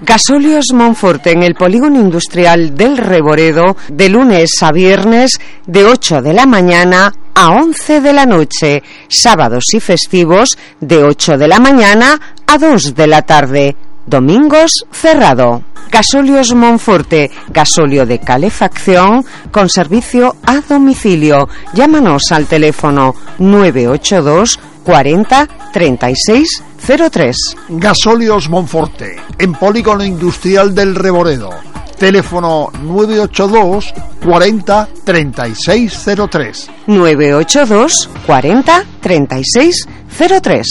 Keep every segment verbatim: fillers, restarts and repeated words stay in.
Gasóleos Monforte en el polígono industrial del Reboredo, de lunes a viernes de ocho de la mañana a once de la noche, sábados y festivos de ocho de la mañana a dos de la tarde, domingos cerrado. Gasóleos Monforte, gasóleo de calefacción con servicio a domicilio. Llámanos al teléfono nueve ocho dos cuarenta treinta y seis cero tres. Gasóleos Monforte, en polígono industrial del Reboredo. Teléfono nueve ocho dos cuarenta treinta y seis cero tres. nueve ocho dos cuarenta treinta y seis cero tres.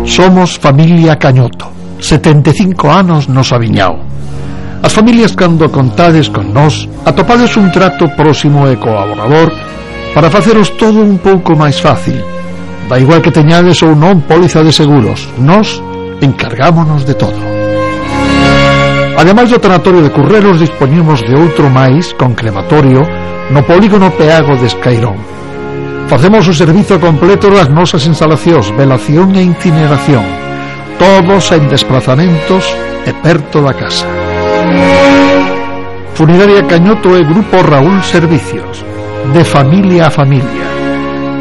Somos familia Cañoto, setenta e cinco anos nos aviñao. As familias cando contades con nós atopades un trato próximo e colaborador para faceros todo un pouco máis fácil. Da igual que teñades ou non póliza de seguros, nós encargámonos de todo. Ademais do tanatorio de Curreros, dispoñemos de outro máis con crematorio no polígono Peago de Escairón. Facemos o servizo completo das nosas instalacións, velación e incineración, todos en desplazamentos e perto da casa. Funeraria Cañoto e Grupo Raúl Servicios, de familia a familia.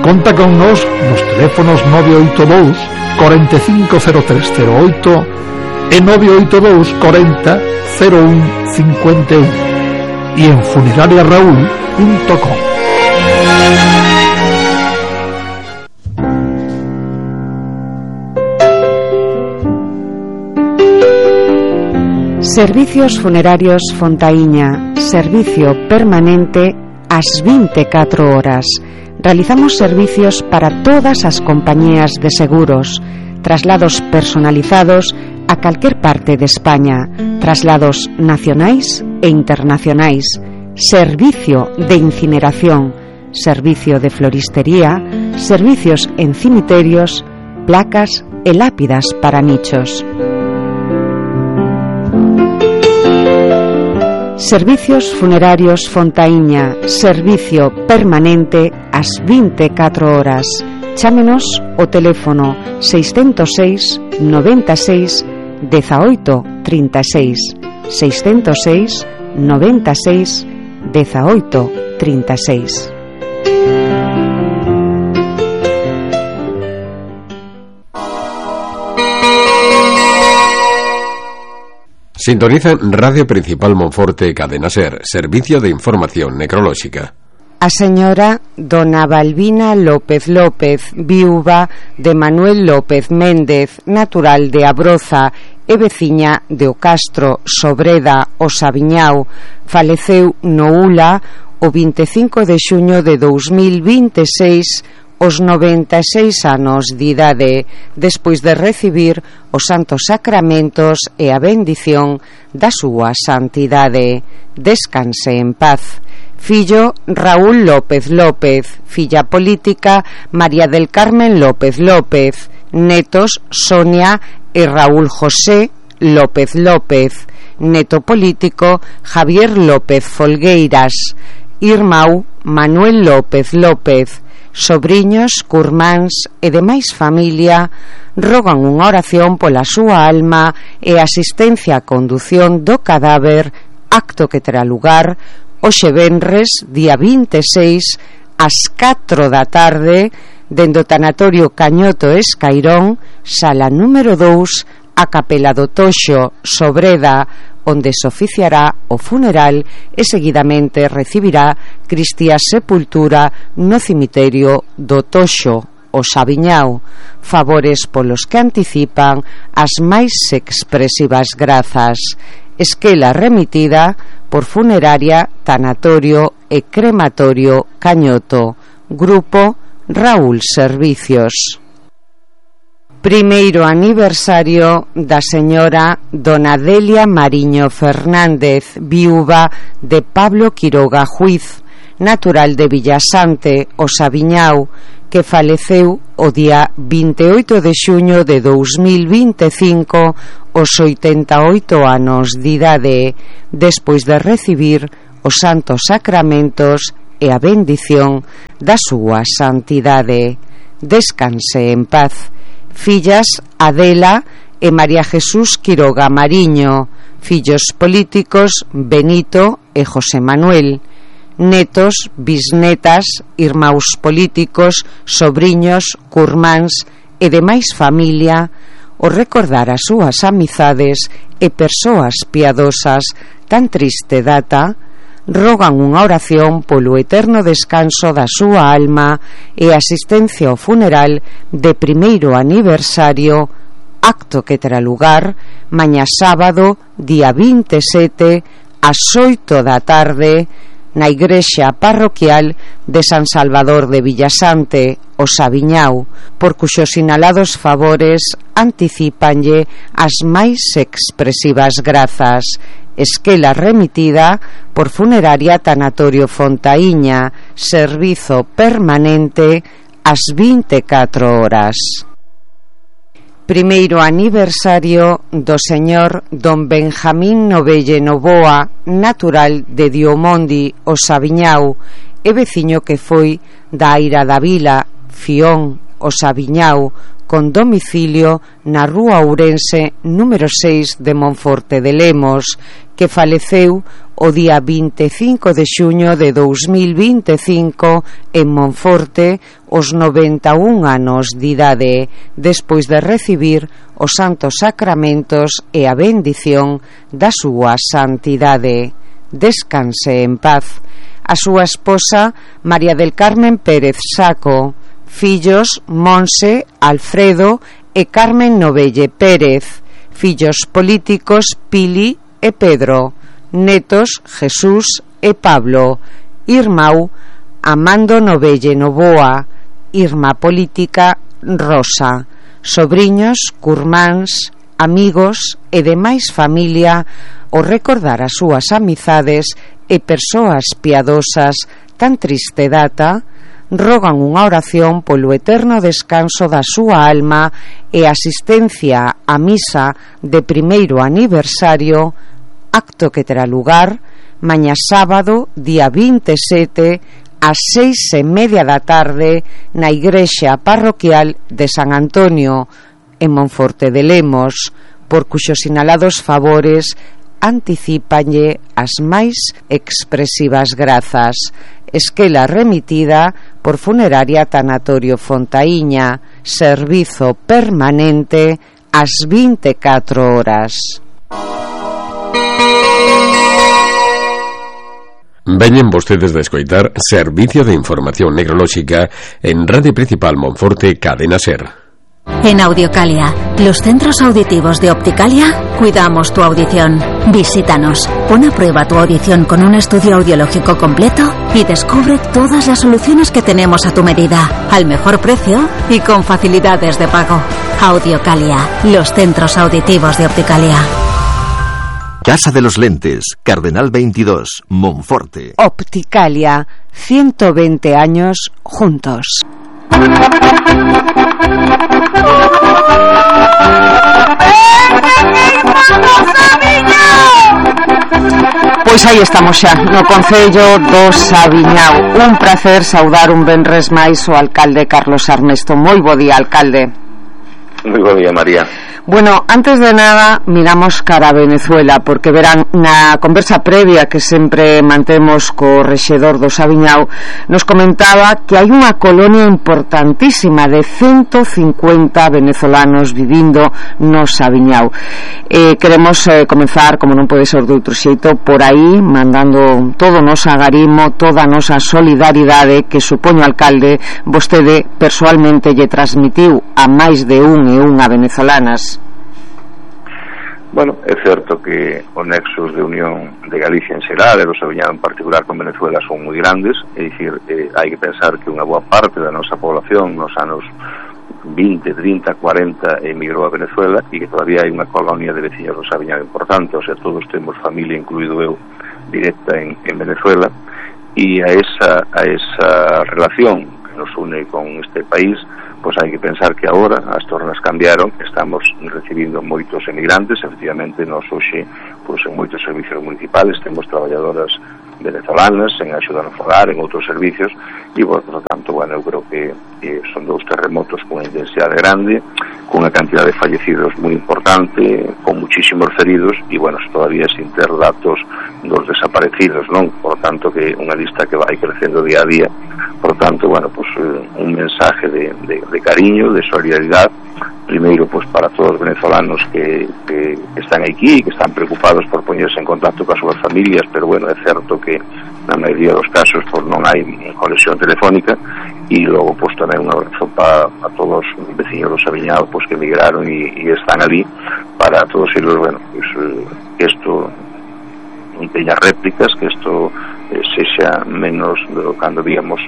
Conta con nos nos teléfonos nove oito dous cuarenta e cinco cero tres cero oito e nove oito dous cuarenta cero un cincuenta e un e en funeraria raúl punto com. Servicios Funerarios Fontaíña, servicio permanente ás vinte e catro horas. Realizamos servicios para todas as compañías de seguros, traslados personalizados a calquer parte de España, traslados nacionais e internacionais, servicio de incineración, servicio de floristería, servicios en cimiterios, placas e lápidas para nichos. Servicios Funerarios Fontaíña, servicio permanente ás vinte e catro horas. Chámenos o teléfono seiscentos seis noventa e seis dezaoito trinta e seis, seiscentos seis noventa e seis dezaoito trinta e seis. Sintonizan Radio Principal Monforte, Cadena Ser, servicio de información necrolóxica. A señora dona Balbina López López, viúva de Manuel López Méndez, natural de Abroza e veciña de O Castro, Sobreda, o Sabiñao, faleceu no Ula o vinte e cinco de xuño de dous mil vinte e seis os noventa e seis anos de idade, despois de recibir os santos sacramentos e a bendición da súa santidade. Descanse en paz. Fillo Raúl López López, filla política María del Carmen López López, netos Sonia e Raúl José López López, neto político Javier López Folgueiras, irmão Manuel López López. Sobriños, curmáns e demais familia rogan unha oración pola súa alma e asistencia a condución do cadáver, acto que terá lugar hoxe venres, día vinte e seis, ás catro da tarde, dende o tanatorio Cañoto Escairón, sala número dous, a capela do Toxo, Sobreda, onde se oficiará o funeral e seguidamente recibirá Cristia Sepultura no cemiterio do Toxo, o Sabiñao. Favores polos que anticipan as máis expresivas grazas. Esquela remitida por Funeraria, Tanatorio e Crematorio Cañoto. Grupo Raúl Servicios. Primeiro aniversario da señora dona Delia Mariño Fernández, viúva de Pablo Quiroga Juiz, natural de Villasante, o Sabiñao, que faleceu o día vinte e oito de xuño de dous mil vinte e cinco aos oitenta e oito anos de idade, despois de recibir os santos sacramentos e a bendición da súa santidade. Descanse en paz. Fillas Adela e María Jesús Quiroga Mariño. Fillos políticos Benito e José Manuel. Netos, bisnetas, irmáns políticos, sobriños, curmáns e demais familia, o recordar as súas amizades e persoas piadosas tan triste data, rogan unha oración polo eterno descanso da súa alma e asistencia ao funeral de primeiro aniversario, acto que terá lugar mañá sábado, día vinte e sete, ás oito da tarde, na igrexa parroquial de San Salvador de Villasante, o Sabiñao, por cuxos sinalados favores anticípanlle as máis expresivas grazas. Esquela remitida por Funeraria Tanatorio Fontaíña, servizo permanente ás vinte e catro horas. Primeiro aniversario do señor don Benjamín Novelle Novoa, natural de Diomondi, o Sabiñao, e veciño que foi da Aira da Vila, Fión, o Sabiñao, con domicilio na rúa Ourense número seis de Monforte de Lemos, que faleceu o día vinte e cinco de xuño de dous mil vinte e cinco en Monforte os noventa e un anos de idade, despois de recibir os santos sacramentos e a bendición da súa santidade. Descanse en paz. A súa esposa María del Carmen Pérez Saco. Fillos Monse, Alfredo e Carmen Novelle Pérez. Fillos políticos Pili e Pedro. Netos Jesús e Pablo. Irmão Amando Novelle Novoa. Irmá política Rosa. Sobriños, curmáns, amigos e demais familia o recordar as súas amizades e persoas piadosas tan triste data, rogan unha oración polo eterno descanso da súa alma e asistencia á misa de primeiro aniversario, acto que terá lugar mañá sábado, día vinte e sete, ás seis e media da tarde, na igrexa parroquial de San Antonio, en Monforte de Lemos, por cuxos sinalados favores anticípanlle as máis expresivas grazas. Esquela remitida por Funeraria Tanatorio Fontaíña, servizo permanente ás vinte e catro horas. Veñen vostedes de escoitar Servicio de Información Necrolóxica en Radio Principal Monforte, Cadena SER. En Audiocalia, los centros auditivos de Opticalia, cuidamos tu audición. Visítanos, pon a prueba tu audición con un estudio audiológico completo y descubre todas las soluciones que tenemos a tu medida, al mejor precio y con facilidades de pago. Audiocalia, los centros auditivos de Opticalia. Casa de los Lentes, Cardenal veintidós, Monforte. Opticalia, ciento veinte años juntos. Pois aí estamos xa, no Concello do Sabiñao. Un placer saudar un venres máis o alcalde Carlos Armesto. Moi bo día, alcalde. Moi bo día, María. Bueno, antes de nada miramos cara a Venezuela, porque verán, na conversa previa que sempre mantemos co rexedor do Sabiñao, nos comentaba que hai unha colonia importantísima de ciento cincuenta venezolanos vivindo no Sabiñao. Eh, queremos eh, comenzar, como non pode ser de outro xeito, por aí, mandando todo o noso agarimo, toda a nosa solidaridade que, supoño, alcalde, vostede persoalmente lle transmitiu a máis de un e unha venezolanas. Bueno, é certo que os nexos de unión de Galicia en xeral e do Sabiñao en particular con Venezuela son moi grandes, é dicir, eh, hai que pensar que unha boa parte da nosa población nos anos vinte, trinta, cuarenta emigrou a Venezuela e que todavía hai unha colonia de veciños do Sabiñao importante, o sea, todos temos familia, incluído eu, directa en, en Venezuela, e a esa, a esa relación que nos une con este país, pois hai que pensar que agora as tornas cambiaron, estamos recibindo moitos emigrantes, efectivamente, nos hoxe, pois en moitos servicios municipales temos traballadoras venezolanas en axuda no fogar, en outros servicios, e, por lo tanto, bueno, eu creo que, que son dous terremotos con intensidade grande, con unha cantidad de fallecidos moi importante, con muchísimos feridos, e, bueno, todavía sin ter datos dos desaparecidos, non? Por tanto, que unha lista que vai crecendo día a día. Por tanto, bueno, pues eh, un mensaje de, de, de cariño, de solidaridade, primeiro, pues para todos os venezolanos que, que, que están aquí, que están preocupados por poñerse en contacto coas súas familias, pero, bueno, é certo que na maioría dos casos pues non hai conexión telefónica, e logo pues tamén un abrazo para a todos os veciños do Saviñao pues que emigraron e, e están ali, para todos eles, bueno, pues que isto non teña réplicas, que isto eh, sexa menos do cando víamos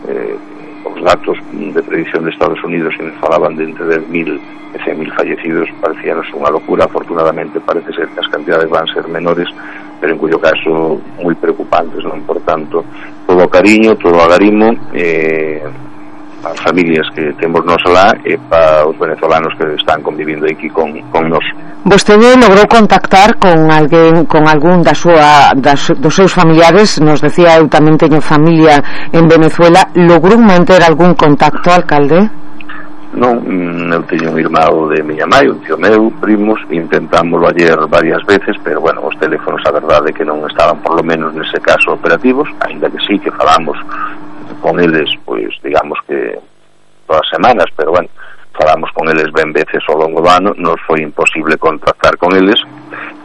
eh, os datos de predicción de Estados Unidos e nos falaban de entre dez mil e cen mil fallecidos. Parecíanos unha locura. Afortunadamente parece ser que as cantidades van ser menores, pero en cuyo caso moi preocupantes, non? Por tanto, todo o cariño, todo o agarimo eh, as familias que temos nos alá e para os venezolanos que están convivindo aquí con, con nos. Vostede logrou contactar con alguén, con algún da súa, das, dos seus familiares? Nos decía, eu tamén teño familia en Venezuela. Logrou manter algún contacto, alcalde? Non, eu teño un irmão de miña mãe, un tío meu, primos, intentámoslo ayer varias veces, pero, bueno, os teléfonos, a verdade, que non estaban, por lo menos nese caso, operativos, aínda que sí, que falamos con eles, pois, digamos que todas as semanas, pero, bueno, falamos con eles ben veces ao longo do ano, nos foi imposible contactar con eles,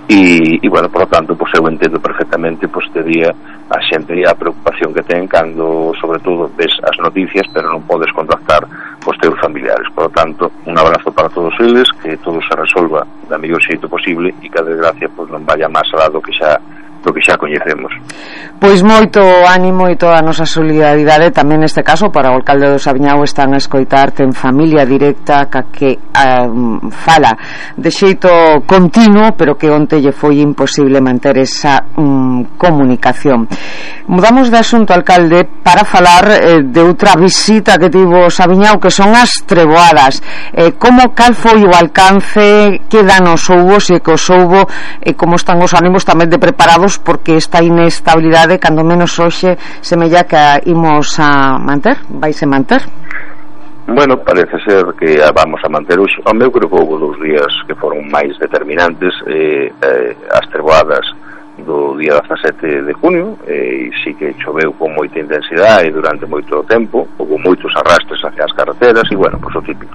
e, e bueno, por lo tanto, pois eu entendo perfectamente, pois, te día a xente e a preocupación que ten cando, sobre todo, ves as noticias, pero non podes contactar cos teus familiares. Por lo tanto, un abrazo para todos eles, que todo se resolva da mellor xeito posible e que a desgracia, pois, non vaya máis alá do que xa do que xa coñecemos. Pois moito ánimo e toda a nosa solidaridade tamén neste caso para o alcalde do Saviñao. Están a escoitar, ten familia directa ca que um, fala de xeito continuo, pero que onte lle foi imposible manter esa um, comunicación. Mudamos de asunto, alcalde, para falar eh, de outra visita que tivo o Saviñao, que son as treboadas. Eh, como cal foi o alcance, que danos houbo, se que os houbo, e eh, como están os ánimos tamén de preparados, porque esta inestabilidade, cando menos hoxe, semella que a imos a manter, vaise manter? Bueno, parece ser que a vamos a manter hoxe. O meu creo que houve dous días que foron máis determinantes, eh, eh, as treboadas do día dezasete de junio, e sí que choveu con moita intensidade e durante moito tempo, houve moitos arrastres hacia as carreteras e, bueno, pois o típico.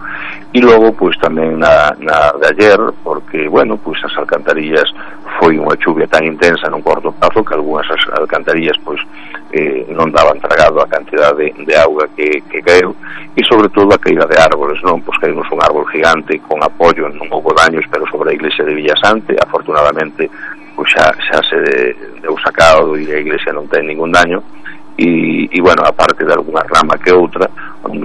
E logo, pois tamén na, na de ayer, porque, bueno, pois as alcantarillas foi unha chuvia tan intensa nun corto prazo que algunhas as alcantarillas, pois, eh, non daban tragado a cantidade de, de auga que, que caeu, e sobre todo a caída de árboles, non? Pois caímos un árbol gigante con apoio, non houve daños, pero sobre a iglesia de Villasante, afortunadamente, pois xa, xa se deu sacado e a iglesia non ten ningún daño, e, e bueno, aparte de alguna rama que outra,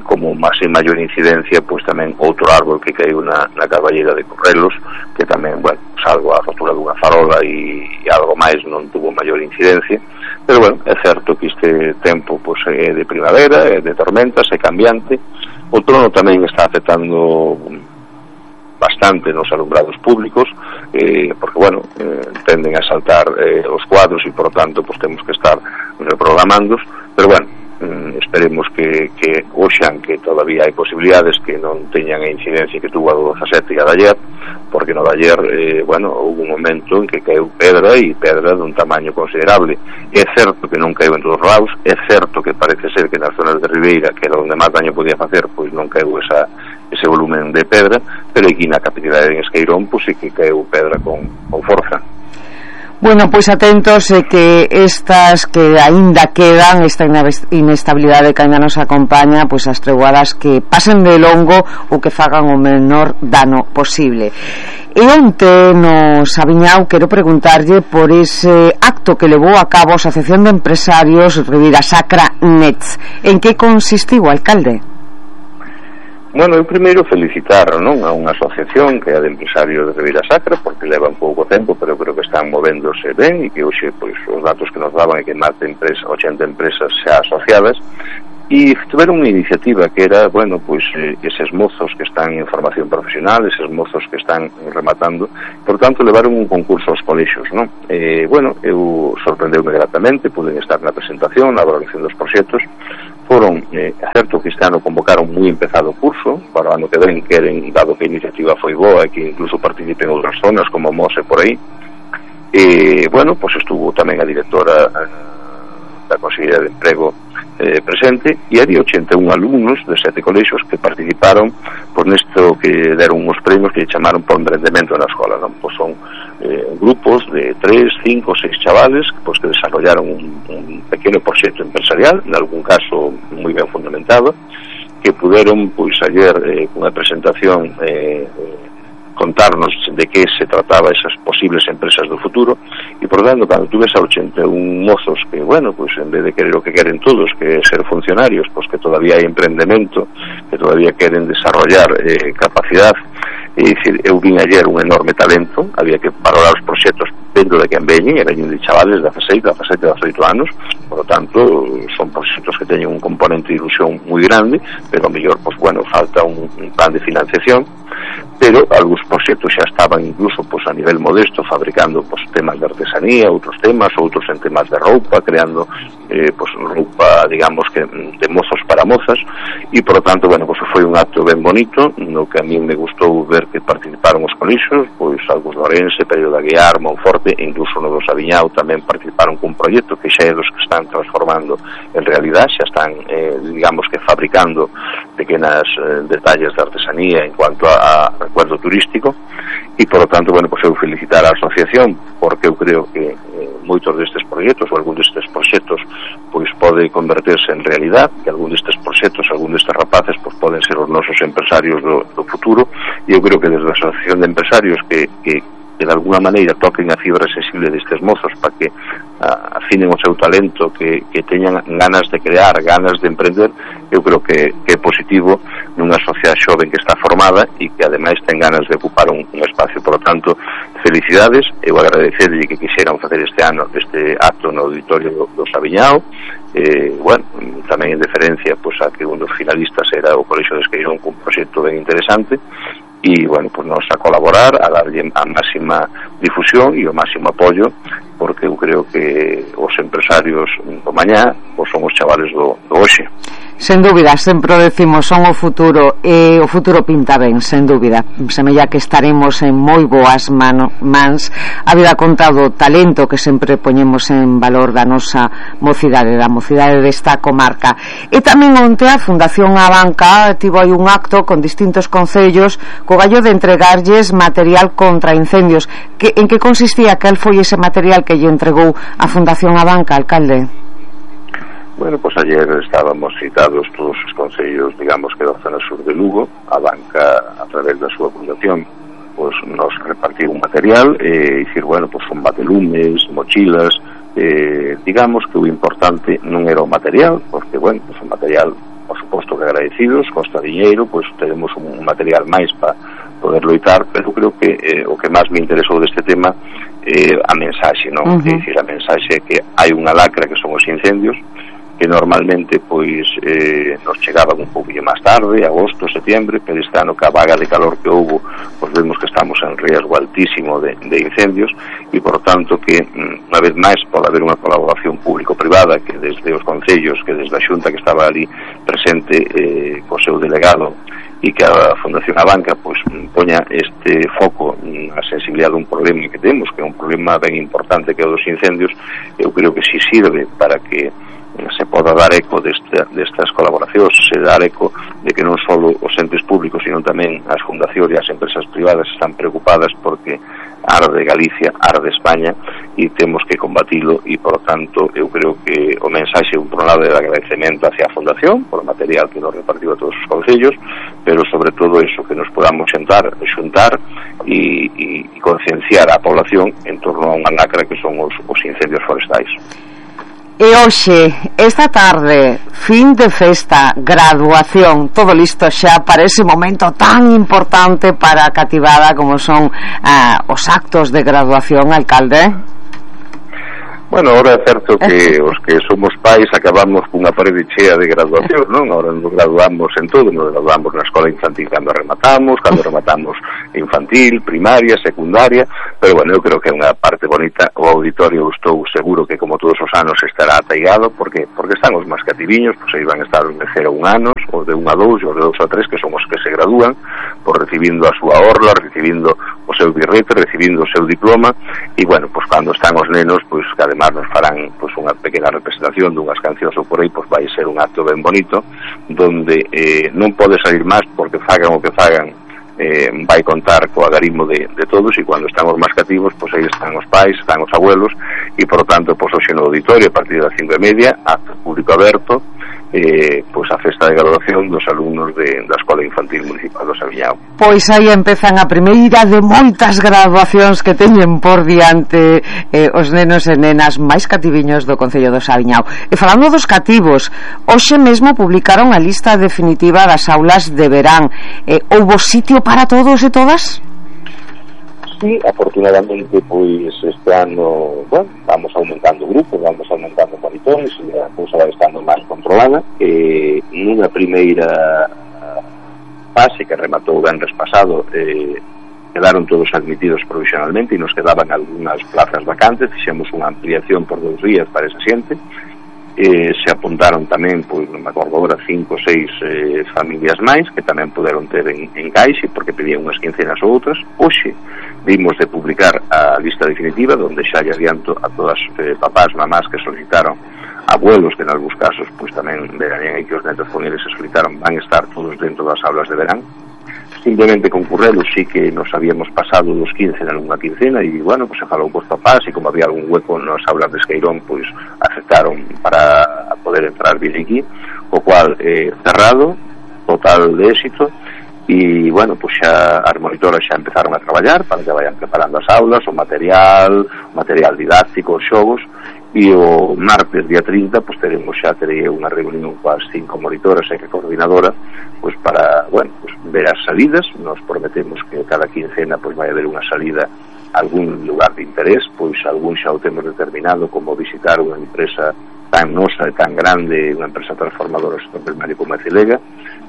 como máis e maior incidencia, pois tamén outro árbol que caiu na, na Carballeira de Correlos, que tamén, bueno, salvo a rotura dunha farola e, e algo máis, non tuvo maior incidencia, pero bueno, é certo que este tempo pois é de primavera, é de tormentas, é cambiante. O trono tamén está afectando bastante nos alumbrados públicos, eh, porque, bueno, eh, tenden a saltar eh, os cuadros e, por tanto, pues, temos que estar reprogramandos, pero, bueno, eh, esperemos que, que oxan que todavía hai posibilidades que non teñan a incidencia que tuvo a do dezasete e a de ayer, porque no de ayer, eh, bueno, houve un momento en que caeu pedra e pedra dun tamaño considerable. É certo que non caeu en todos os lados, é certo que parece ser que nas zonas de Ribeira, que era onde máis daño podía facer, pois non caeu esa ese volumen de pedra, pero aquí na capitalidade en Esqueirón, pois sí que caeu pedra con, con forza. Bueno, pois atentos eh, que estas que aínda quedan, esta inestabilidade que aínda nos acompaña, pois as treboadas que pasen de longo ou que fagan o menor dano posible. E onte no Saviñao quero preguntarlle por ese acto que levou a cabo a Asociación de Empresarios Ribeira Sacra Nets. En que consistiu, alcalde? Bueno, eu primeiro felicitar, non, a unha asociación que é a de empresarios de Ribeira Sacra, porque levan pouco tempo, pero creo que están movéndose ben e que hoxe, pois, os datos que nos daban é que máis de empresa, ochenta empresas xa asociadas, e tiveron unha iniciativa que era, bueno, pois eh, eses mozos que están en formación profesional, eses mozos que están rematando, por tanto levaron un concurso aos colexios, non? Eh, bueno, eu sorprendeume gratamente, puden estar na presentación, na valoración dos proxectos. Foron, eh, certo que este ano convocaron moi empezado o curso, para o ano que ven queren, dado que a iniciativa foi boa e que incluso participen outras zonas como Mose por aí. E, bueno, pois estuvo tamén a directora eh, da Consellería de Emprego eh, presente, e había ochenta e un alumnos de sete colexios que participaron por nesto que deron uns premios que chamaron por emprendemento na escola, non? Pois son eh, grupos de tres, cinco, seis chavales pois, que desarrollaron un, un pequeno proxecto empresarial, en algún caso moi ben fundamentado, que puderon, pois, ayer eh, cunha presentación eh, contarnos de que se trataba esas posibles empresas do futuro, e por tanto, cando tú ves a ochenta e un mozos que, bueno, pues en vez de querer o que queren todos, que ser funcionarios, pues que todavía hai emprendemento, que todavía queren desarrollar eh, capacidad, e dicir, eu vin ayer un enorme talento, había que valorar os proxectos dentro de que veñen, e veñen de chavales de dezasete, dezasete, dezoito anos, por lo tanto, son proxectos que teñen un componente de ilusión moi grande, pero a mellor, pues bueno, falta un, un plan de financiación, pero algúns proxectos xa estaban incluso pues, a nivel modesto fabricando pues, temas de artesanía, outros temas, outros en temas de roupa, creando eh, pues, roupa, digamos que de mozos para mozas, e por lo tanto, bueno, pues foi un acto ben bonito, no que a mí me gustou ver que participaron os colixos, pois algúns de Orense, Perio de Aguiar, Monforte, e incluso no do Sabiñao tamén participaron cun proxecto que xa é dos que están transformando en realidad, xa están, eh, digamos que fabricando pequenas eh, detalles de artesanía en cuanto a, a recuerdo turístico, e por lo tanto, bueno, pues eu felicitar a asociación, porque eu creo que eh, moitos destes proxectos ou algún destes proxectos pois pode converterse en realidad, que algún destes proxectos, algún destes rapaces pois poden ser os nosos empresarios do, do futuro, e eu creo que desde a asociación de empresarios que, que que de alguna maneira toquen a fibra sensible destes mozos para que uh, afinen o seu talento, que, que teñan ganas de crear, ganas de emprender, eu creo que, que é positivo nunha sociedade xoven que está formada e que ademais ten ganas de ocupar un, un espacio. Por lo tanto, felicidades, eu agradecerlle que quixeran facer este ano este acto no auditorio do, do Sabiñao, eh, bueno, tamén en deferencia pues, a que un dos finalistas era o Colexio de Esqueirón cun proxecto ben interesante, e, bueno, pues nos a colaborar, a darlle a máxima difusión e o máximo apoio, porque eu creo que os empresarios do mañá pues son os chavales do, do hoxe. Sen dúbida, sempre o decimos, son o futuro, e o futuro pinta ben, sen dúbida. Semella que estaremos en moi boas mano, mans, a vida contado o talento que sempre poñemos en valor da nosa mocidade, da mocidade desta comarca. E tamén onte a Fundación Abanca tivo aí un acto con distintos concellos co gallo de entregarlles material contra incendios. Que, en que consistía? Cal foi ese material que lle entregou a Fundación Abanca, alcalde? Bueno, pues ayer estábamos citados todos os concellos, digamos que da zona sur de Lugo. A banca, a través da súa fundación, pues nos repartiu un material, e dicir, bueno, pues son batelumes, mochilas, eh, digamos que o importante non era o material, porque, bueno, pues o material, por suposto que agradecidos, costa diñeiro, pues tenemos un material máis para poder loitar, pero creo que eh, o que máis me interesou deste tema é eh, a mensaxe, non? Uh -huh. É dicir, a mensaxe é que hai unha lacra que son os incendios, que normalmente pois eh, nos chegaban un pouquinho máis tarde, agosto, setembro, pero este ano que a vaga de calor que houve, pois vemos que estamos en riesgo altísimo de, de incendios, e por tanto que unha vez máis pode haber unha colaboración público-privada, que desde os concellos, que desde a Xunta que estaba ali presente eh, co seu delegado, e que a Fundación Abanca pois poña este foco na sensibilidade dun problema que temos, que é un problema ben importante que é o dos incendios. Eu creo que si sirve para que se poda dar eco deste, destas colaboracións, se dar eco de que non só os entes públicos, sino tamén as fundacións e as empresas privadas están preocupadas porque arde Galicia, arde España, e temos que combatilo, e por tanto eu creo que o mensaxe un por un lado de agradecemento hacia a fundación por o material que nos repartiu a todos os concellos, pero sobre todo eso, que nos podamos sentar, xuntar e, e, e concienciar a población en torno a unha lacra que son os, os incendios forestais. E hoxe, esta tarde, fin de festa, graduación, todo listo xa para ese momento tan importante para a cativada como son ah, os actos de graduación, alcalde? Bueno, ahora é certo que os que somos pais acabamos cunha parede chea de graduación, non? Ahora nos graduamos en todo, nos graduamos na escola infantil cando rematamos, cando rematamos infantil, primaria, secundaria, pero bueno, eu creo que é unha parte bonita. O auditorio estou seguro que como todos os anos estará ataigado, porque porque están os máis cativiños, pois aí van a estar os de cero a un anos, os de un a dous, os de dous a tres, que son os que se gradúan, pois recibindo a súa orla, recibindo o seu birrete, recibindo o seu diploma, e bueno, pois cando están os nenos, pois que además nos farán pois unha pequena representación dunhas cancións ou por aí, pois vai ser un acto ben bonito, donde eh, non pode salir máis, porque fagan o que fagan, eh, vai contar co agarimo de, de todos, e cando están os máis cativos, pois aí están os pais, están os abuelos, e por tanto, pois hoxe no auditorio, a partir das cinco e media, acto público aberto, eh, pois a festa de graduación dos alumnos de, da Escola Infantil Municipal do Saviñao. Pois aí empezan a primeira de moitas graduacións que teñen por diante eh, os nenos e nenas máis cativiños do Concello do Saviñao. E falando dos cativos, hoxe mesmo publicaron a lista definitiva das aulas de verán. Eh, houbo sitio para todos e todas? Sí, afortunadamente, pois este ano, bueno, vamos aumentando grupos, vamos aumentando monitores, e a cousa vai estando máis controlada. Eh, nunha primeira fase que rematou o venres pasado, eh, quedaron todos admitidos provisionalmente e nos quedaban algunhas plazas vacantes. Fixemos unha ampliación por dous días para esa xente. Eh, se apuntaron tamén, pois non me acordo agora, cinco ou seis eh, familias máis que tamén puderon ter en, en caixe, porque pedían unhas quincenas ou outras. Hoxe vimos de publicar a lista definitiva, donde xa lle adianto a todas eh, papás, mamás que solicitaron, abuelos que en algúns casos pois tamén veranían e que os netos con eles se solicitaron, van estar todos dentro das aulas de verán. Simplemente concurrelos sí que nos habíamos pasado dos quince en alguna quincena, e bueno, pues se falou cos papás, e como había algún hueco nas aulas de Esqueirón, pois aceptaron para poder entrar bien aquí, o cual eh, cerrado, total de éxito. E bueno, pois xa as monitoras xa empezaron a traballar para que vayan preparando as aulas, o material, o material didáctico, os xogos. E o martes día trinta pois teremos xa terei unha reunión coas cinco monitoras e que coordinadora pois para, bueno, pois ver as salidas. Nos prometemos que cada quincena pois vai haber unha salida a algún lugar de interés, pois algún xa o temos determinado, como visitar unha empresa tan nosa e tan grande, unha empresa transformadora do sector primario como a Cilega,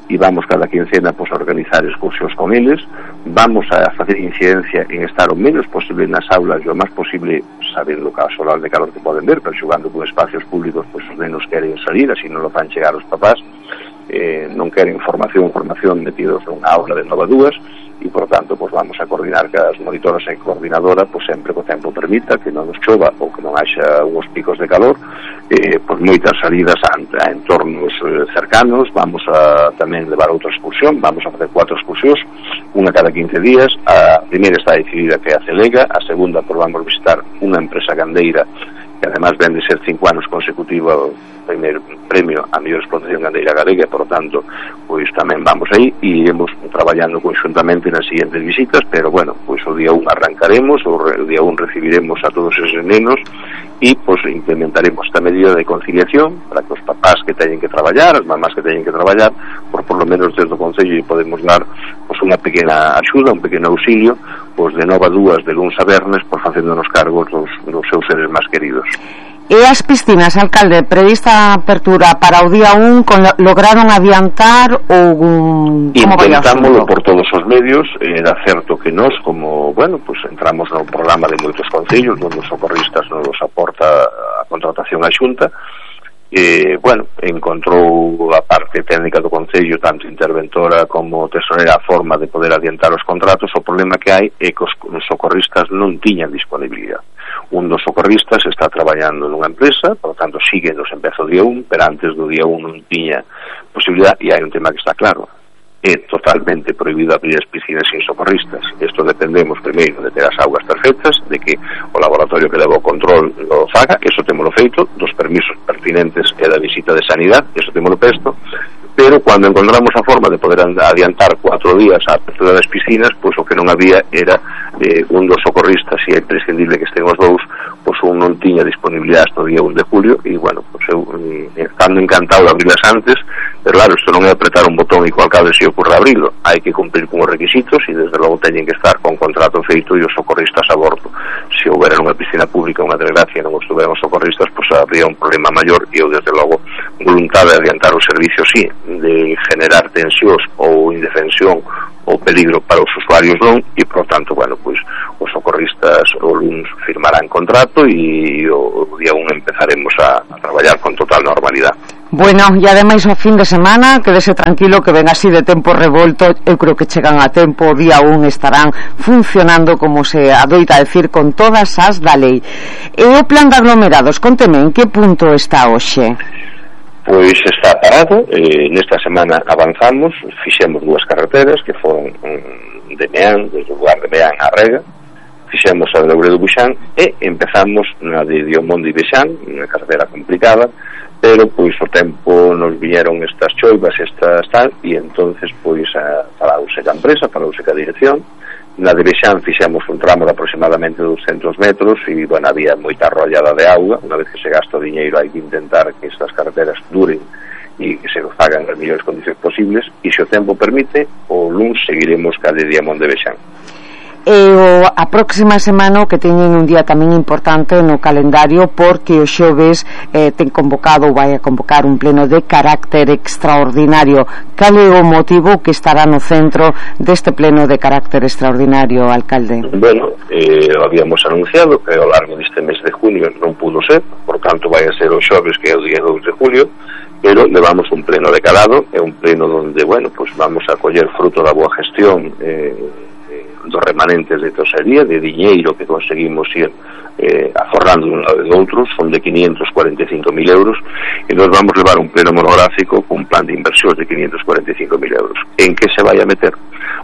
e vamos cada quincena pois a organizar excursións con eles. Vamos a facer incidencia en estar o menos posible nas aulas e o máis posible sabendo que a solar de calor que poden ver, pero xogando con espacios públicos, pois os nenos queren salir, así non lo fan chegar os papás, eh, non queren formación formación metidos nunha aula de nove a dúas, e por tanto pois vamos a coordinar que as monitoras e coordinadora pois sempre que o tempo permita, que non nos chova ou que non haxa uns picos de calor, eh, pois moitas salidas a, a entornos eh, cercanos. Vamos a tamén levar outra excursión, vamos a facer cuatro excursións, unha cada quince días. A primeira está decidida, que é a Celega. A segunda pois vamos visitar unha empresa gandeira que además ven de ser cinco anos consecutivos o primeiro premio a mellor explotación gandeira galega, e por tanto pois tamén vamos aí e iremos traballando conxuntamente nas siguientes visitas. Pero bueno, pois o día un arrancaremos, o día un recibiremos a todos eses nenos e pois implementaremos esta medida de conciliación para que os papás que teñen que traballar, as mamás que teñen que traballar, por por lo menos desde o Concello podemos dar pois unha pequena axuda, un pequeno auxilio, pois de nove a dúas de luns a vernes, por facéndonos cargos dos, dos seus seres máis queridos. E as piscinas, alcalde, prevista apertura para o día un, con, lograron adiantar ou un... Intentámoslo por todos os medios. Era certo que nós, como, bueno, pues entramos no programa de moitos concellos, onde os socorristas nos aporta a contratación á Xunta. Eh, bueno, encontrou a parte técnica do Concello, tanto interventora como tesorera, a forma de poder adiantar os contratos. O problema que hai é que os socorristas non tiñan disponibilidade. Un dos socorristas está traballando nunha empresa, por lo tanto sigue nos empeza o día un, pero antes do día un non tiña posibilidade. E hai un tema que está claro: é totalmente prohibido abrir as piscinas sin socorristas. Isto dependemos primeiro de ter as augas perfectas, de que o laboratorio que leva o control lo faga, eso temos feito, dos permisos pertinentes e da visita de sanidade, eso temos presto. Pero cando encontramos a forma de poder adiantar cuatro días a apertura das piscinas, pois o que non había era eh, un dos socorristas, e é imprescindible que estén os dous, pois un non tiña disponibilidade hasta o día un de julio, e bueno, pois eu, estando encantado de abrirlas antes, Pero claro, isto non é apretar un botón e co alcalde se ocorre abrilo, hai que cumplir con os requisitos e desde logo teñen que estar con contrato feito e os socorristas a bordo. Se houbera unha piscina pública, unha desgracia, non estuveran os socorristas, pois habría un problema maior e eu desde logo voluntade de adiantar o servicio, sí, de generar tensións ou indefensión ou peligro para os usuarios non, e por tanto, bueno, pois os socorristas o luns firmarán contrato e o, o día un empezaremos a, a traballar con total normalidade. Bueno, e ademais o fin de semana, quedese tranquilo que ven así de tempo revolto, eu creo que chegan a tempo, o día un estarán funcionando como se adoita decir con todas as da lei. E o plan de aglomerados, conteme, en que punto está hoxe? Pois está parado, eh, nesta semana avanzamos, fixemos dúas carreteras que foron um, de Meán, desde o lugar de Meán a Rega, fixemos a de Louredo Buxán e empezamos na de Diomondo e Bexán, unha carretera complicada, pero pois o tempo nos viñeron estas choivas, estas tal, e entonces pois a, parause a empresa, parause a dirección. Na de Bexán fixemos un tramo de aproximadamente doscientos metros e, bueno, había moita arrollada de auga. Unha vez que se gasta o diñeiro hai que intentar que estas carreteras duren e que se fagan nas mellores condicións posibles, e se o tempo permite, o luns seguiremos ca de Diamond de Bexán. E o, a próxima semana que teñen un día tamén importante no calendario, porque o xoves eh, ten convocado ou vai a convocar un pleno de carácter extraordinario. Cal é o motivo que estará no centro deste pleno de carácter extraordinario, alcalde? Bueno, eh, habíamos anunciado que ao largo deste mes de junio non pudo ser, por tanto vai a ser o xoves, que é o día dous de julio, pero levamos un pleno de calado, é un pleno donde, bueno, pues vamos a coller fruto da boa gestión eh, dos remanentes de tesorería, de diñeiro que conseguimos ir eh, aforrando de un lado e do outro, son de quinientos cuarenta e cinco mil euros, e nos vamos levar un pleno monográfico con un plan de inversión de quinientos cuarenta e cinco mil euros. En que se vai a meter?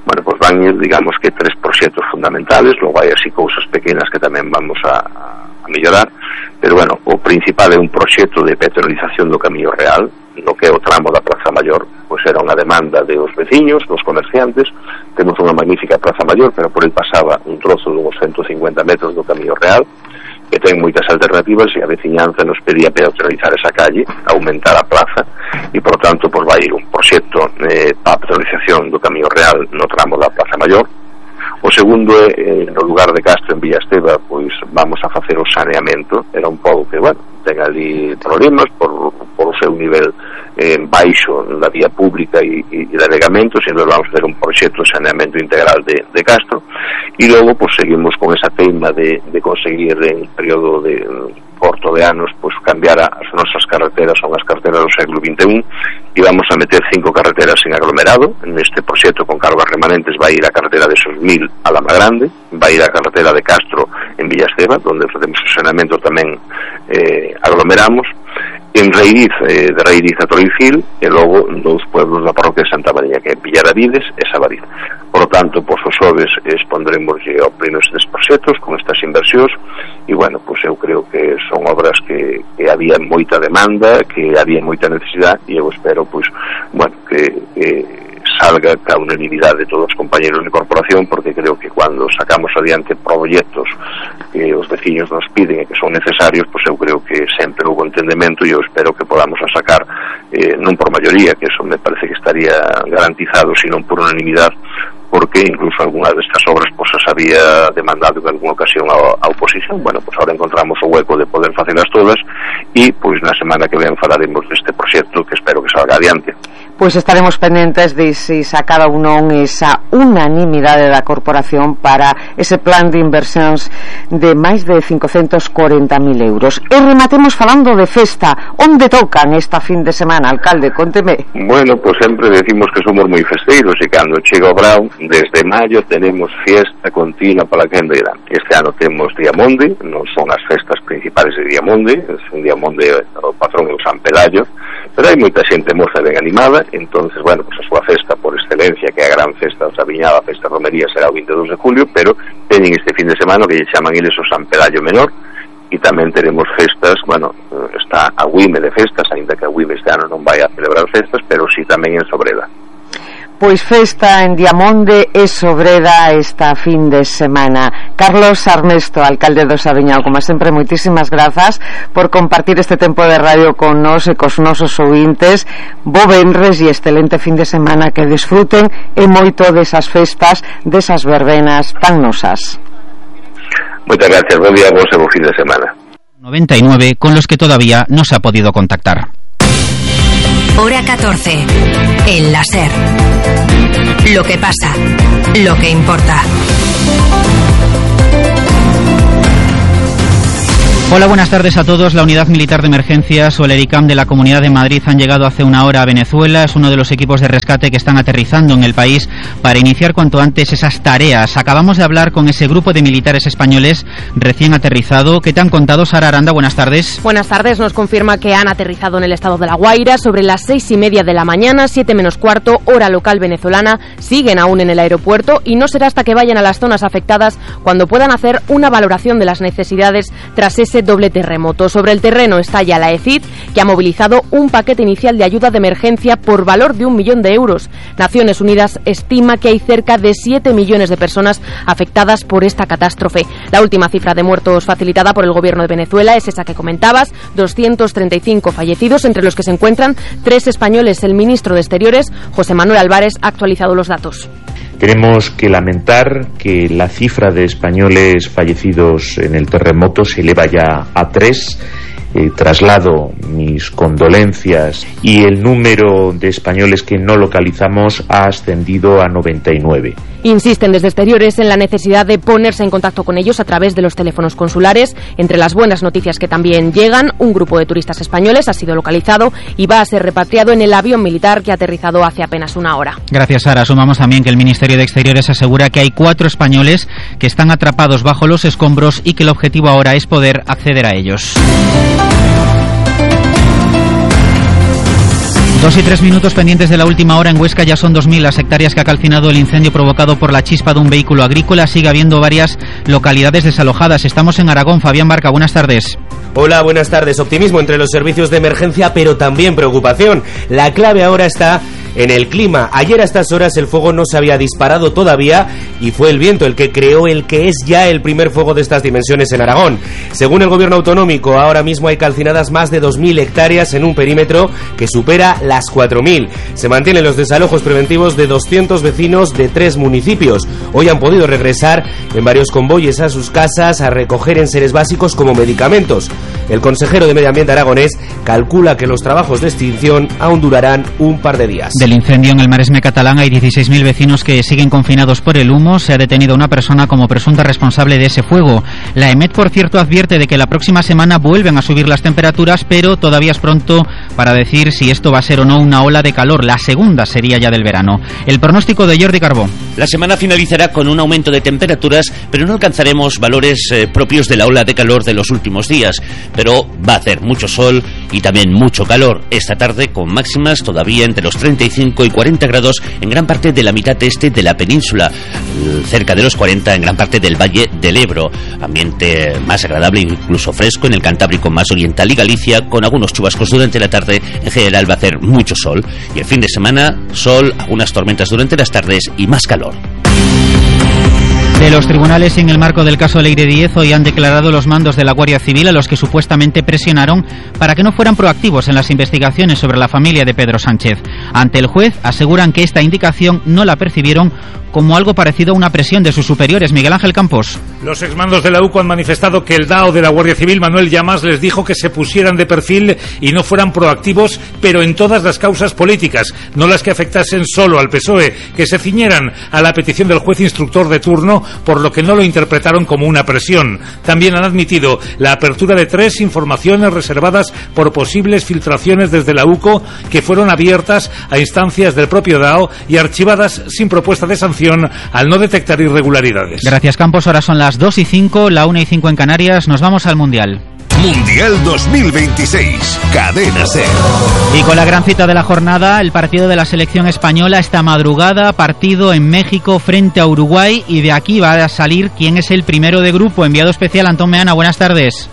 Bueno, pues van ir, digamos que tres proxectos fundamentales, logo hai así cousas pequenas que tamén vamos a, a mellorar, pero bueno, o principal é un proxecto de peatonalización do Camiño Real, no que é o tramo da Praza Maior, pois era unha demanda de os veciños, dos comerciantes. Temos unha magnífica Praza Maior, pero por el pasaba un trozo de uns ciento cincuenta metros do Camiño Real, que ten moitas alternativas, e a veciñanza nos pedía peatonalizar esa calle, aumentar a praza, e por tanto pois vai ir un proxecto eh, para a peatonalización do Camiño Real no tramo da Praza Maior. O segundo é, eh, no lugar de Castro, en Villasteba, pois vamos a facer o saneamento. Era un pobo que, bueno, ten ali problemas por, por o seu nivel eh, baixo da vía pública e, e de regamentos, e entón vamos a facer un proxecto de saneamento integral de, de Castro, e logo pois seguimos con esa teima de, de conseguir en período de corto de anos pois cambiar as nosas carreteras, son as carreteras do século vinte e un, e vamos a meter cinco carreteras en aglomerado. Neste proxecto con cargas remanentes vai ir a carretera de Sosmil a Lama Grande, vai ir a carretera de Castro en Villasteba, donde facemos o saneamento tamén eh, aglomeramos, en Reiriz, eh, de Reiriz a Torricil, e logo dous pueblos da parroquia de Santa María, que é Villaravides e Sabariz. Por lo tanto, pois os xoves expondremos ao pleno estes proxectos con estas inversións, e bueno, pois eu creo que son obras que, que había moita demanda, que había moita necesidade, e eu espero, pois, bueno, que, que salga a unanimidade de todos os compañeros de corporación, porque creo que cando sacamos adiante proxectos que os veciños nos piden e que son necesarios, pois eu creo que sempre houve entendemento, e eu espero que podamos a sacar eh, non por maioría, que eso me parece que estaría garantizado, sino por unanimidade, porque incluso algunhas destas obras pois as había demandado en alguna ocasión a, a oposición. Bueno, pois agora encontramos o hueco de poder facelas todas, e pois na semana que ven falaremos deste proxecto que espero que salga adiante. Pois estaremos pendentes de se sacar ou non esa unanimidade da corporación para ese plan de inversións de máis de cincocentos corenta mil euros. E rematemos falando de festa. Onde tocan esta fin de semana, alcalde? Conteme. Bueno, pois sempre decimos que somos moi festeiros, e cando chega o brao, desde maio tenemos fiesta continua para quen verá. Este ano temos Diamonde, non son as festas principales de Diamonde, é un Diamonde, o patrón é o San Pelayo, pero hai moita xente moza ben animada. Entonces, bueno, pues a súa festa por excelencia, que é a gran festa da Sabiñada, a festa de romería, será o vinte e dous de julio, pero teñen este fin de semana que lle chaman eles o San Pelayo Menor, e tamén teremos festas. Bueno, está a Uime de festas, ainda que a Uime este ano non vai a celebrar festas, pero sí tamén en Sobreda. Pois festa en Diamonde e Sobreda esta fin de semana. Carlos Armesto, alcalde do Saviñao, como sempre, moitísimas grazas por compartir este tempo de radio con nos e cos nosos ouvintes. Bo venres e excelente fin de semana, que disfruten e moito desas festas, desas verbenas tan nosas. Moitas gracias, buen día, vos e bo fin de semana. noventa y nueve con los que todavía no se ha podido contactar. Hora catorce. El láser. Lo que pasa. Lo que importa. Hola, buenas tardes a todos. La Unidad Militar de Emergencias o el ERICAM de la Comunidad de Madrid han llegado hace una hora a Venezuela. Es uno de los equipos de rescate que están aterrizando en el país para iniciar cuanto antes esas tareas. Acabamos de hablar con ese grupo de militares españoles recién aterrizado. ¿Qué te han contado, Sara Aranda? Buenas tardes. Buenas tardes. Nos confirma que han aterrizado en el estado de La Guaira sobre las seis y media de la mañana, siete menos cuarto, hora local venezolana. Siguen aún en el aeropuerto y no será hasta que vayan a las zonas afectadas cuando puedan hacer una valoración de las necesidades tras ese doble terremoto. Sobre el terreno está ya la E C I D, que ha movilizado un paquete inicial de ayuda de emergencia por valor de un millón de euros. Naciones Unidas estima que hay cerca de siete millones de personas afectadas por esta catástrofe. La última cifra de muertos facilitada por el gobierno de Venezuela es esa que comentabas, doscientos treinta y cinco fallecidos, entre los que se encuentran tres españoles. El ministro de Exteriores, José Manuel Álvarez, ha actualizado los datos. Tenemos que lamentar que la cifra de españoles fallecidos en el terremoto se eleva ya a tres. Eh, traslado mis condolencias y el número de españoles que no localizamos ha ascendido a noventa y nueve. Insisten desde Exteriores en la necesidad de ponerse en contacto con ellos a través de los teléfonos consulares. Entre las buenas noticias que también llegan, un grupo de turistas españoles ha sido localizado y va a ser repatriado en el avión militar que ha aterrizado hace apenas una hora. Gracias, Sara. Sumamos también que el Ministerio de Exteriores asegura que hay cuatro españoles que están atrapados bajo los escombros y que el objetivo ahora es poder acceder a ellos. Dos y tres minutos pendientes de la última hora. En Huesca ya son dos mil las hectáreas que ha calcinado el incendio provocado por la chispa de un vehículo agrícola. Sigue habiendo varias localidades desalojadas. Estamos en Aragón. Fabián Barca, buenas tardes. Hola, buenas tardes. Optimismo entre los servicios de emergencia, pero también preocupación. La clave ahora está en el clima. Ayer a estas horas el fuego no se había disparado todavía y fue el viento el que creó el que es ya el primer fuego de estas dimensiones en Aragón. Según el gobierno autonómico, ahora mismo hay calcinadas más de dos mil hectáreas en un perímetro que supera las cuatro mil. Se mantienen los desalojos preventivos de doscientos vecinos de tres municipios. Hoy han podido regresar en varios convoyes a sus casas a recoger enseres básicos como medicamentos. El consejero de Medio Ambiente aragonés calcula que los trabajos de extinción aún durarán un par de días. Del incendio en el Maresme catalán hay dieciséis mil vecinos que siguen confinados por el humo. Se ha detenido a una persona como presunta responsable de ese fuego. La EMET, por cierto, advierte de que la próxima semana vuelven a subir las temperaturas, pero todavía es pronto para decir si esto va a ser o no una ola de calor. La segunda sería ya del verano. El pronóstico de Jordi Carbó. La semana finalizará con un aumento de temperaturas, pero no alcanzaremos valores eh, propios de la ola de calor de los últimos días. Pero va a hacer mucho sol y también mucho calor esta tarde, con máximas todavía entre los treinta y cinco y cuarenta grados en gran parte de la mitad este de la península, cerca de los cuarenta en gran parte del Valle del Ebro. Ambiente más agradable, incluso fresco en el Cantábrico más oriental y Galicia, con algunos chubascos durante la tarde. En general va a hacer mucho sol y el fin de semana sol, algunas tormentas durante las tardes y más calor. De los tribunales, en el marco del caso Leire Díez, hoy han declarado los mandos de la Guardia Civil a los que supuestamente presionaron para que no fueran proactivos en las investigaciones sobre la familia de Pedro Sánchez. Ante el juez aseguran que esta indicación no la percibieron como algo parecido a una presión de sus superiores. Miguel Ángel Campos. Los exmandos de la U C O han manifestado que el D A O de la Guardia Civil, Manuel Llamas, les dijo que se pusieran de perfil y no fueran proactivos, pero en todas las causas políticas, no las que afectasen solo al P S O E, que se ciñeran a la petición del juez instructor de turno, por lo que no lo interpretaron como una presión. También han admitido la apertura de tres informaciones reservadas por posibles filtraciones desde la U C O, que fueron abiertas a instancias del propio D A O y archivadas sin propuesta de sanción al no detectar irregularidades. Gracias, Campos. Ahora son las dos y cinco, la una y cinco en Canarias. Nos vamos al Mundial. Mundial dos mil veintiséis, Cadena SER. Y con la gran cita de la jornada, el partido de la selección española esta madrugada, partido en México frente a Uruguay, y de aquí va a salir quién es el primero de grupo. Enviado especial Antón Meana, buenas tardes.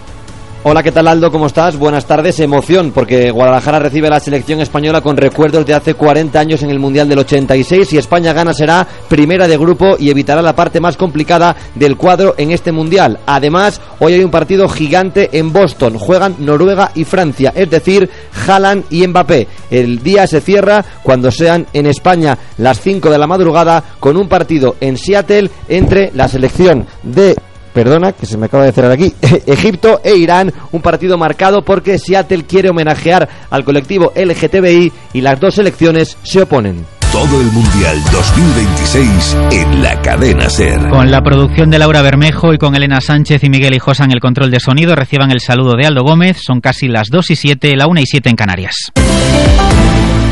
Hola, ¿qué tal, Aldo? ¿Cómo estás? Buenas tardes. Emoción, porque Guadalajara recibe a la selección española con recuerdos de hace cuarenta años en el Mundial del ochenta y seis. Si España gana, será primera de grupo y evitará la parte más complicada del cuadro en este Mundial. Además, hoy hay un partido gigante en Boston. Juegan Noruega y Francia, es decir, Haaland y Mbappé. El día se cierra cuando sean en España las cinco de la madrugada con un partido en Seattle entre la selección de... Perdona, que se me acaba de cerrar aquí. Egipto e Irán, un partido marcado porque Seattle quiere homenajear al colectivo L G T B I y las dos selecciones se oponen. Todo el Mundial dos mil veintiséis en la cadena SER. Con la producción de Laura Bermejo y con Elena Sánchez y Miguel Hijosa en el control de sonido, reciban el saludo de Aldo Gómez. Son casi las dos y siete, la una y siete en Canarias.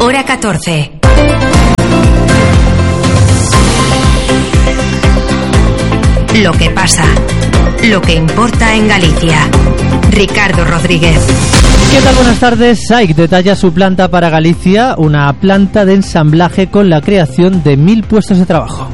Hora catorce. Lo que pasa, lo que importa en Galicia. Ricardo Rodríguez. ¿Qué tal? Buenas tardes. S A I C detalla su planta para Galicia, una planta de ensamblaje con la creación de mil puestos de trabajo.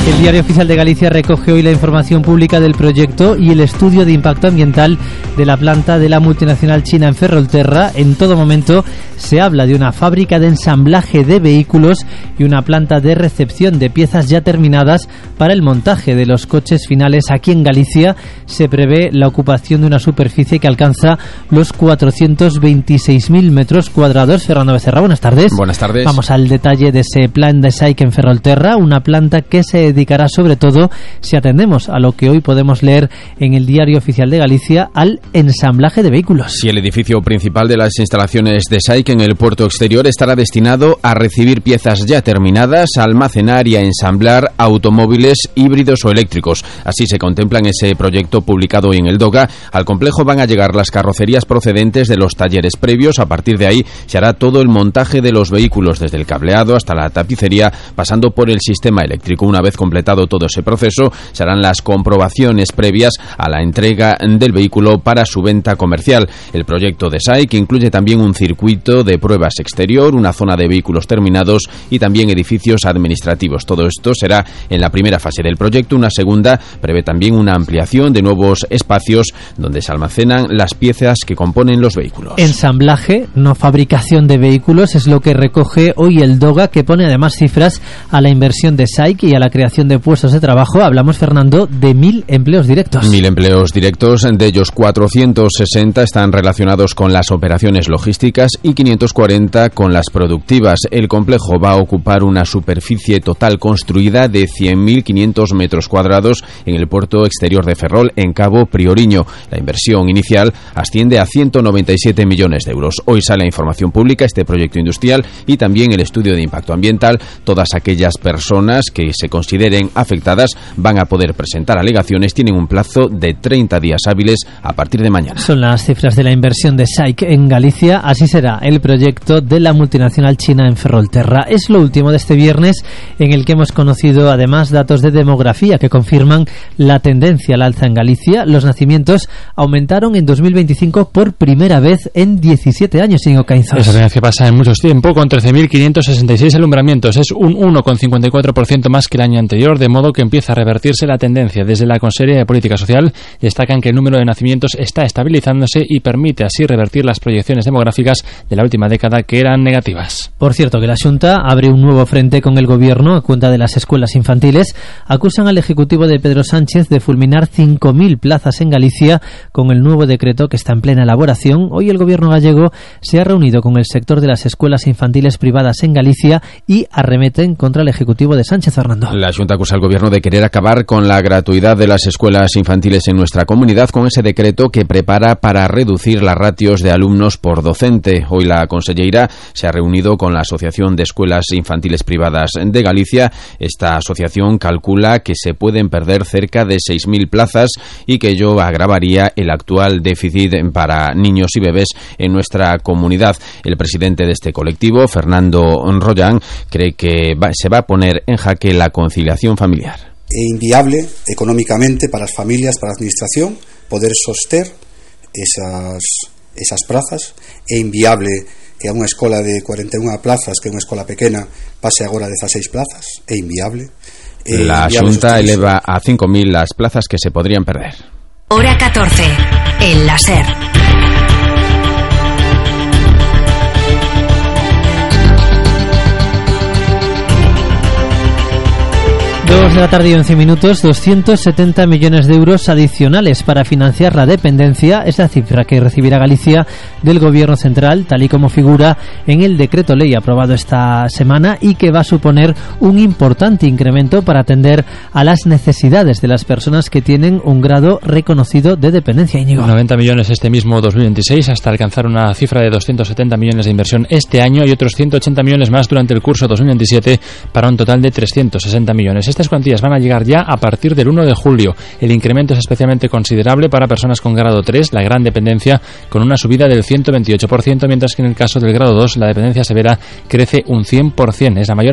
El Diario Oficial de Galicia recoge hoy la información pública del proyecto y el estudio de impacto ambiental de la planta de la multinacional china en Ferrolterra. En todo momento se habla de una fábrica de ensamblaje de vehículos y una planta de recepción de piezas ya terminadas para el montaje de los coches finales. Aquí en Galicia se prevé la ocupación de una superficie que alcanza los cuatrocientos veintiséis mil metros cuadrados. Fernando Becerra, buenas tardes. Buenas tardes. Vamos al detalle de ese plan de S A I C en Ferrolterra, una planta que se dedicará sobre todo, si atendemos a lo que hoy podemos leer en el Diario Oficial de Galicia, al ensamblaje de vehículos. Sí, el edificio principal de las instalaciones de S A I C en el puerto exterior estará destinado a recibir piezas ya terminadas, a almacenar y a ensamblar automóviles híbridos o eléctricos. Así se contempla en ese proyecto publicado hoy en el DOGA. Al complejo van a llegar las carrocerías procedentes de los talleres previos. A partir de ahí se hará todo el montaje de los vehículos, desde el cableado hasta la tapicería, pasando por el sistema eléctrico. Una vez completado todo ese proceso, se harán las comprobaciones previas a la entrega del vehículo para su venta comercial. El proyecto de S A I C incluye también un circuito de pruebas exterior, una zona de vehículos terminados y también edificios administrativos. Todo esto será en la primera fase del proyecto. Una segunda prevé también una ampliación de nuevos espacios donde se almacenan las piezas que componen los vehículos. Ensamblaje, no fabricación de vehículos, es lo que recoge hoy el DOGA, que pone además cifras a la inversión de S A I C y a la creación de puestos de trabajo. Hablamos, Fernando, de mil empleos directos. Mil empleos directos, de ellos cuatrocientos sesenta están relacionados con las operaciones logísticas y quinientos cuarenta con las productivas. El complejo va a ocupar una superficie total construida de cien mil quinientos metros cuadrados en el puerto exterior de Ferrol, en Cabo Prioriño. La inversión inicial asciende a ciento noventa y siete millones de euros. Hoy sale a información pública este proyecto industrial y también el estudio de impacto ambiental. Todas aquellas personas que se consideren afectadas van a poder presentar alegaciones. Tienen un plazo de treinta días hábiles a partir de mañana. Son las cifras de la inversión de S A I C en Galicia. Así será el proyecto de la multinacional china en Ferrolterra. Es lo último de este viernes, en el que hemos conocido además datos de demografía que confirman la tendencia al alza en Galicia. Los nacimientos aumentaron en dos mil veinticinco por primera vez en diecisiete años, sin Ocainzos. Esa tendencia pasa en muchos tiempos, con trece mil quinientos sesenta y seis alumbramientos. Es un uno coma cincuenta y cuatro por ciento más que el año anterior, de modo que empieza a revertirse la tendencia. Desde la Consejería de Política Social destacan que el número de nacimientos está estabilizándose y permite así revertir las proyecciones demográficas de la última década, que eran negativas. Por cierto, que la Xunta abre un nuevo frente con el Gobierno a cuenta de las escuelas infantiles. Acusan al Ejecutivo de Pedro Sánchez de fulminar cinco mil plazas en Galicia con el nuevo decreto que está en plena elaboración. Hoy el Gobierno gallego se ha reunido con el sector de las escuelas infantiles privadas en Galicia y arremeten contra el Ejecutivo de Sánchez. Fernando. La Xunta acusa al Gobierno de querer acabar con la gratuidad de las escuelas infantiles en nuestra comunidad con ese decreto que prepara para reducir las ratios de alumnos por docente. Hoy la conselleira se ha reunido con la Asociación de Escuelas Infantiles Privadas de Galicia. Esta asociación calcula que se pueden perder cerca de seis mil plazas y que ello agravaría el actual déficit para niños y bebés en nuestra comunidad. El presidente de este colectivo, Fernando Rollán, cree que va, se va a poner en jaque la conciliación familiar. É inviable económicamente para as familias, para a administración, poder soster esas, esas plazas. É inviable que a unha escola de cuarenta e unha plazas, que é unha escola pequena, pase agora a dezaseis plazas. É inviable. La Xunta eleva a cinco mil las plazas que se podrían perder. Hora catorce. El láser. Dos de la tarde y once minutos, doscientos setenta millones de euros adicionales para financiar la dependencia es la cifra que recibirá Galicia del Gobierno central, tal y como figura en el decreto ley aprobado esta semana y que va a suponer un importante incremento para atender a las necesidades de las personas que tienen un grado reconocido de dependencia. Íñigo. noventa millones este mismo dos mil veintiséis hasta alcanzar una cifra de doscientos setenta millones de inversión este año y otros ciento ochenta millones más durante el curso dos mil veintisiete para un total de trescientos sesenta millones. Estas cuantías van a llegar ya a partir del uno de julio. El incremento es especialmente considerable para personas con grado tres, la gran dependencia, con una subida del ciento veintiocho por ciento, mientras que en el caso del grado dos la dependencia severa crece un cien por ciento. Es la mayor